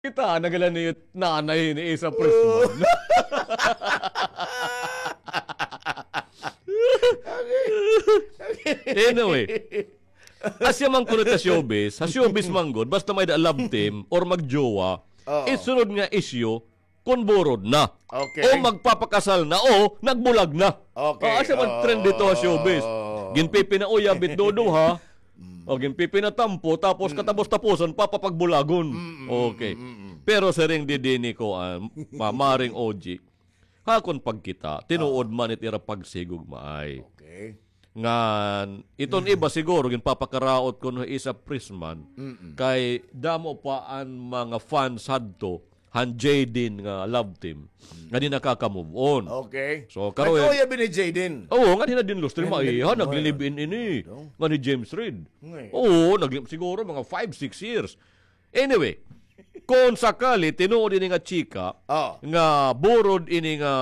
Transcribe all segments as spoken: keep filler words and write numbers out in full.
Kita, nagala ni nanay ni Isa Prisman. Anyway, asya man kuno ta showbiz, ha showbiz man gud, basta may-ada love team or magjowa, Oo. Isunod nga issue, kon borod na. Okay. O magpapakasal na, o nagbulag na. Okay. Ah, asya man trend dito ha showbiz. Oo. Ginpipinauyab it duduha, o ginpipinatampo, tapos katapos-tapusan, papapagbulagon. Mm, mm, okay. Mm, mm, mm. Pero siring didi ni kuan, ma-, Maring O G, ha akon pagkita, tinuod man it ira pagsigugmaay. Okay. Ngan, iton iba siguro, ginpapakaraot kuno hi Isa Prisman, kay damo pa an mga fans hadto, han Jayden nga love team, nga di nakaka-move on. Okay. So, karon, nagkauyab ini Jayden. Oo, ngan hina Dinlos Trim, ay, ha, nagle-live-in ini. Ngan ni James Reid. Oo, nag-, siguro mga five, six years. Anyway, kon sakali, tinuod ini nga chika, nga borod ini nga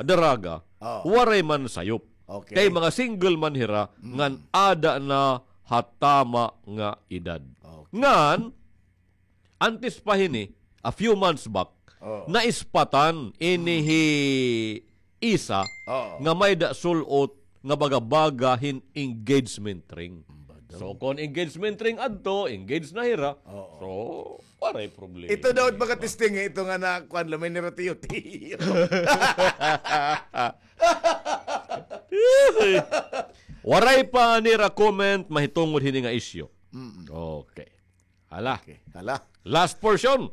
daraga, waray man sayop. Okay. Kay mga single man hira, ngan ada na ha tama nga edad. Okay. Ngan, antes pa hini, a few months back, naispatan ini hi Isa nga may-ada sul-ot nga baga-baga hin engagement ring. So, kon engagement ring adto, engaged na hira. Oo. So, waray problema. Ito daw, baga testing, eh, ito nga na, kuan, lamay nira tiyo-tiyo. Waray pa nira comment mahitungod hini nga isyu. Mm-mm. Okay. Hala. Okay. Hala. Last portion.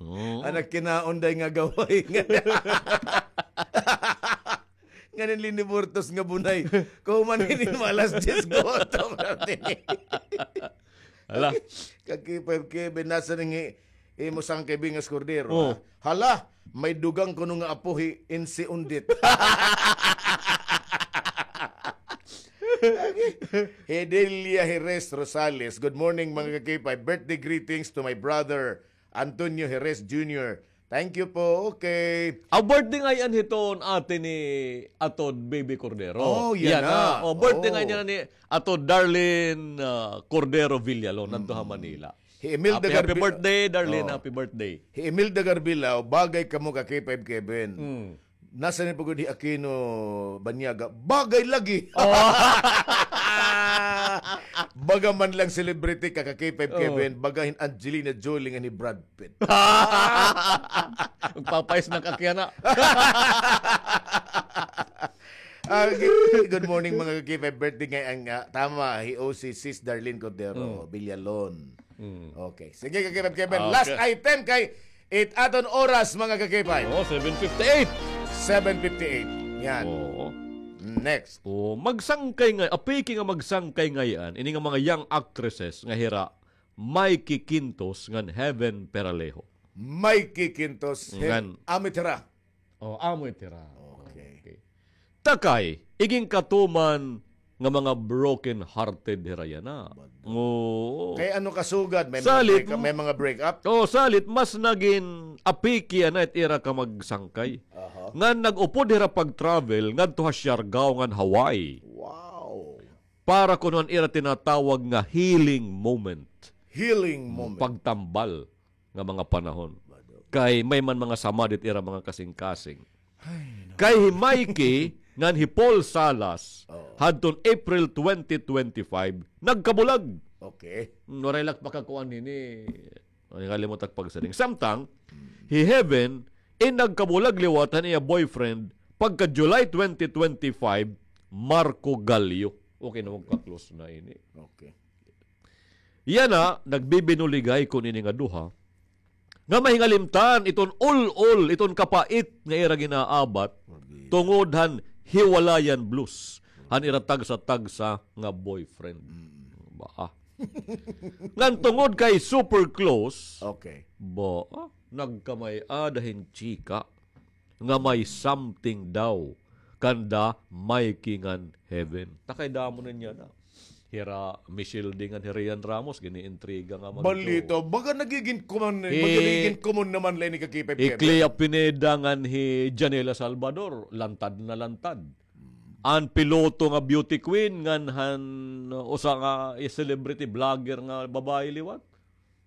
Oh. Anak kinaunday nga gaway. Nganin liniburtos nga bunay. Kuman ini mga alas diyes gutom. Hala. Kaki five Kevin, nasa ning i-, imo sangkay bingas kordero, oh, ha? Hala, may dugang kuno nga apo hi Insi Undit. Hedelia Jerez Rosales, "Good morning, mga ka-K five. Birthday greetings to my brother, Antonio Jerez Junior" Thank you po. Okay. A birthday ngay-an hiton ate ni Atod Baby Cordero. Oh, yana. Yana. Oh, birthday ngay-an yana ni Atod Darlene, ah, Cordero Villalon, nanto ha Manila. Hi Imelda Happy, happy Garbi-, birthday, Darlene. Oh. Happy birthday. Hi Imelda Garbilao, bagay kamo ka K five Kevin. Mm. Nasa ni pagod hi Aquino Banyaga? Bagay lagi. Oh. Baga man lang celebrity ka ka K five Kevin, baga hin Angelina Jolie ngan hi Brad Pitt. Magpapais na ka kaya na. Ah, g-, good morning, mga ka-K five. Birthday ngay-an nga, tama, hi O C Sis Darlene Cordero, mm, Villalon. Mm. Okay. Sige, ka-K five Kevin. Okay. Last item kay it aton oras, mga ka-K five. Oh, seven fifty-eight. Seven fifty-eight. Yan. Oo. Next. Oh, magsangkay ngay-, apiki nga magsangkay ngay-an ini nga mga young actresses nga hira Mikey Quintos ngan Heaven Peralejo. Mikey Quintos, ngan amo it hira. Oh, amo it hira. Okay. Okay. Takay, iginkatuman nga mga broken-hearted hira yana. Bado. Oo. Kay ano kasugad, may mga break-, may mga break-up? Oh, salit, mas nagin apiki yana it ira ka magsangkay. Aha. Ngan nag-upod hira pag-travel ngadto ha Siargao ngan Hawaii. Wow. Para kuno an ira tinatawag nga healing moment. Healing moment. Pagtambal nga mga panahon. Kay may man mga samad it ira mga kasingkasing. Ay, no. Kay hi Mikey ngan hi Paul Salas, oh, hadton April twenty twenty-five, nagkabulag. Okay. Hmm, waray la ak pakakuan hini. Ay, kalimot ak pagsiring. Samtang, hi Heaven, in nagkabulag liwat han iya boyfriend, pagka July twenty twenty-five, Marco Gallio. Okay na, magka-close na ini. Okay. Yana, nagbibinuligay kuno ini nga duha. Nga mahingalimtan iton ul-ol, iton kapait nga ira ginaabat, tungod han hiwalayan blues han ira tagsa-tagsa nga boyfriend. Mm. Ba, ah. Ngan tungod kay super close, okay, ba, ah, nagkamay-ada hin chika nga may something daw kanda Mikey ngan Heaven. Takay damo na niya na. Hira Michelle D ngan hi Rian Ramos, giniintriga nga man. Balita, baga nagigin common, baga nagigin common naman la ini ka K five Kevin. Hi Clea Pineda ngan hi Janela Salvador, lantad na lantad. Hmm. An piloto nga beauty queen ngan han, uh, usa nga, eh, celebrity vlogger nga babaye liwat.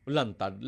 Lantad,